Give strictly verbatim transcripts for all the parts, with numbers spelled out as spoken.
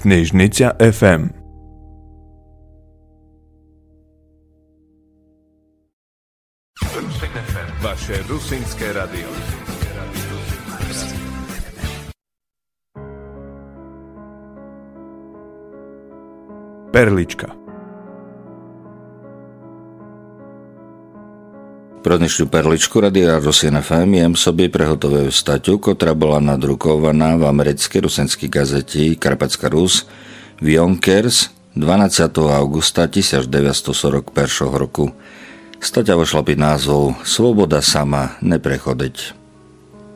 Книжниця еф ем. Ваше русинське радіо. Перличка. Про днешню Перличку Радія Русин еф ем єм собі приготовив статю, котра была надрукованá в америцкій русинській газеті Карпатська Рус в Юнкерс дванадцятого авґуста тисяч девятсто сорок першого року. Статя вышла під назвом Свобода сама не приходить.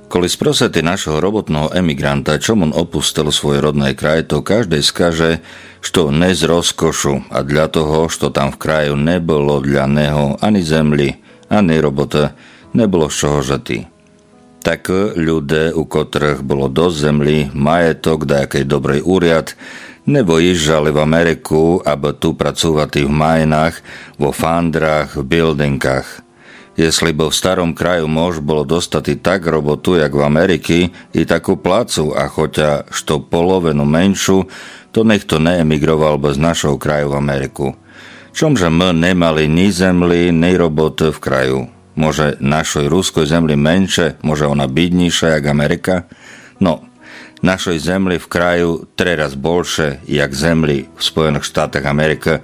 Коли спросите нашого роботного еміґранта, чом он опустил свой родный край, то каждый скаже, што не з розкошу, а для того, што там в краю не было для нього ані землі, ані роботы, не было з чого жыти. Так люде, у котрых было досц землі, маєток, даякый добрый уряд, не выїжджали в Америку, абы ту працовати в майнах, во фандрах, в білдингах. Єсли бы в старом краю мож было достати так роботу, як в Америці, і таку плацу, а хотя што половину меншу, то нихто не еміґровал бы з нашого краю в Америку. Чом же мы не мали ні землі, ні роботы в краю? Може, нашой руской землі менше, може, она біднійша, як Америка? Но, нашой землі в краю три раз больше, як землі в Споєных Штатах Америкы,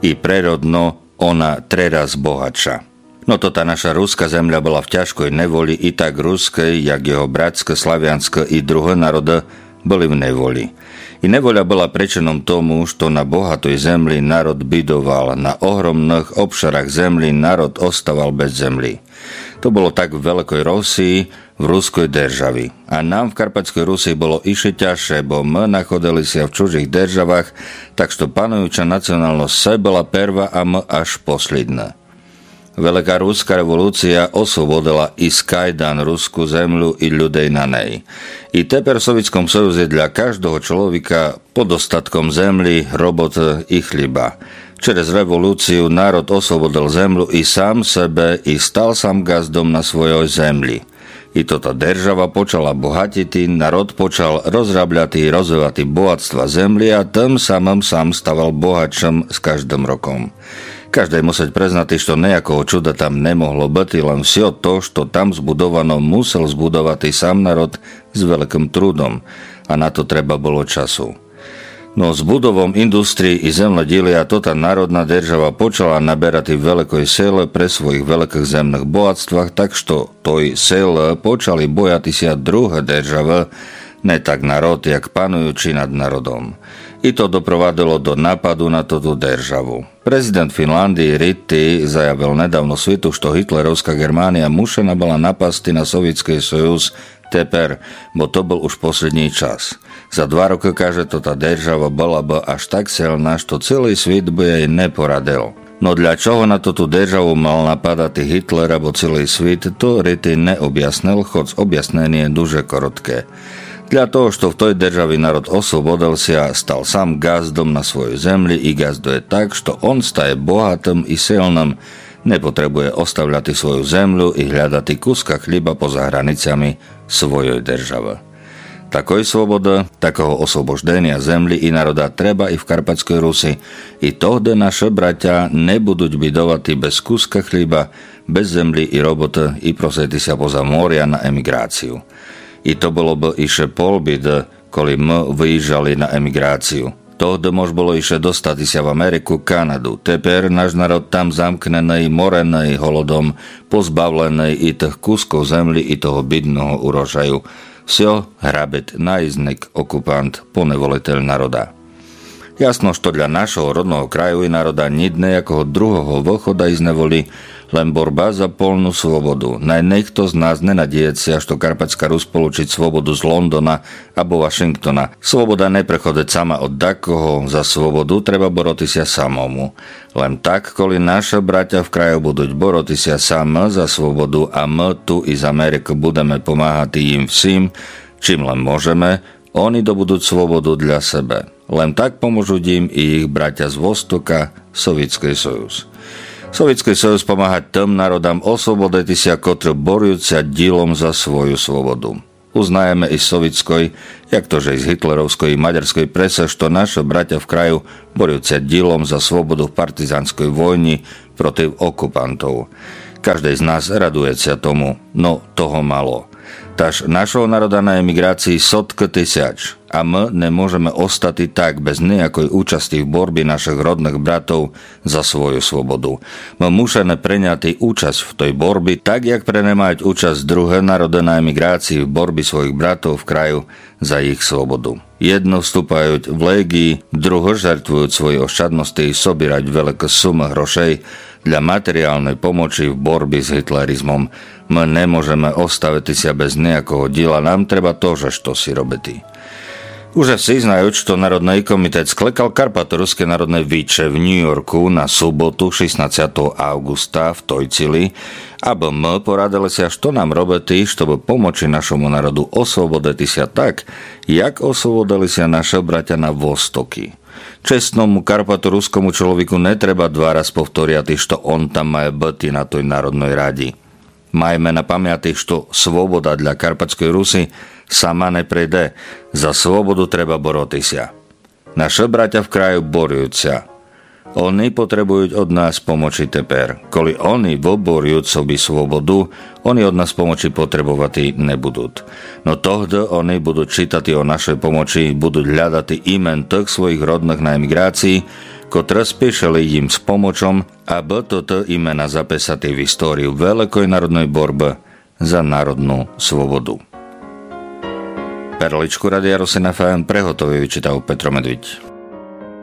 і природно она три раз богатша. Но то та наша руска земля была в тяжкой неволі і так рускый, як його братскы славянскы і другы народы были в неволі. І неволя была причыном тому, што на богатой землі народ бідовал, на огромных обшарах землі народ оставал без землі. То было так в Великой Росії, в Руской державі. А нам в Карпатськой Русі было іщы тяжше, бо мы находили ся в чужых державах, так што пануюча націоналносц была перва, а мы аж послїдны. Велика руска револуція освободила из кайдан руску землю і людей на ней. І тепер в Совітськом Союзі для каждого чоловіка по достатком землі, роботы і хліба. Через револуцію народ освободил землю і сам себе, і стал сам ґаздом на свойой землі. І тота держава почала богатїти, народ почал розрабляти і розвивати богатства землі, а тым самым сам ставал богатшым з каждым роком. Каждый мусить признати, што ниякого чуда там не могло быти, лем всьо то, што там збудовано, мусел збудовати сам народ з великым трудом, а на то треба было часу. Но з будовом індустрії і землодїлія тота народна держава почала наберати великой силы при своїх великых земных богатствах, так што той силы почали бояти ся другы державы, не так народ, як пануючи над народом. І то допровадило до нападу на тоту державу. Президент Фінландії Ритти заявил недавно світу, што гітлеровска Ґерманія мушена была напасти на Совітськый Союз тепер, бо то был уж послїднїй час. За два рокы, каже, тота держава была бы аж так силна, што цілый світ бы єй не порадил. Но для чого на тоту державу мал нападати Гітлер або цілый світ, то Ритти не обяснил, хоц обясненіє дуже коротке. Для того, што в той державі народ освободил ся, стал сам ґаздом на свойой землї і ґаздує так, што он стає богатым і силным, не потребує оставляти свою землю і глядати куска хліба поза границями свойой державы. Такой свободы, такого освобожденя землї і народа треба і в Карпатськой Руси, і тогды нашы братя не будуть бідовати без куска хліба, без землї і роботы і просити ся поза моря на еміґрацію. І то было бы іщы пол біды, коли мы выїжджали на еміґрацію. Тогды мож было іщы достати ся в Америку, Канаду. Тепер наш народ там замкненый, мореный голодом, позбавленый і тых кусков землї, і того бідного урожаю. Всьо грабить наїзник, окупант, поневолитель народа. Ясно, што для нашого родного краю і народа нїт ниякого другого выхода из неволї, лем борба за полну свободу. Най нихто з нас не надіє ся, што Карпатська Рус получить свободу з Лондона або Вашингтона. Свобода не приходить сама од дакого, за свободу треба бороти ся самому. Лем так, коли нашы братя в краю будуть бороти ся самы за свободу, а мы ту из Америкы будеме помагати їм всім, чим лем можеме, они добудуть свободу для себе. Лем так поможуть їм і їх братя з Востока, Совітськый Союз. Совітськый Союз помагать тым народам освободити ся, котры борють ся дїлом за свою свободу. Узнаєме из совітской, як то же из гітлеровской и мадярской пресы, што нашы братя в краю борють ся ділом за свободу в партизанской войні против окупантов. Каждый з нас радує ся тому, но того мало. Таж нашого народа на еміґрації соткы тисяч, а мы не можеме остати так без ниякой участи в борбі нашых родных братов за свою свободу. Мы мушеме преняти участи в той борбі, так як пренимають участи другы народы на еміґрації в борбі своїх братов в краю за їх свободу. Єдно вступають в леґії, другы жертвують свої ощадности и собірають великы сумы грошей для матеріалной помочі в борбі з гітлеризмом. Мы не можеме оставити ся без ниякого діла, нам треба тоже штоси робити. Уже всі знають, што Народный комітет скликав Карпаторуске народне віче в Ню-Йорку на суботу, шістнадцятого авґуста, в той цілї, абы мы порадили ся, што нам робити, штобы помочи нашому народу освободити ся так, як освободили ся нашы братя на Востокі. Чесному карпаторускому чоловіку не треба два раз повторяти, што он там має быти на той Народной раді. Майте на памяти, што свобода для Карпатской Руси сама не прийде. За свободу треба бороти ся. Нашы братя в краю борють ся. Они потребують од нас помочи тепер. Коли они выборють собі свободу, они од нас помочи потребовати не будуть. Но тогды они будуть читати о нашой помочи, будуть глядати имен тых своїх родных на еміґрації, котры спішили їм з помочом, абы тоты имена записати в історію великой народной борбы за народну свободу. Перличку Радія Русин ФМ приготовив и читав Петро Медвідь.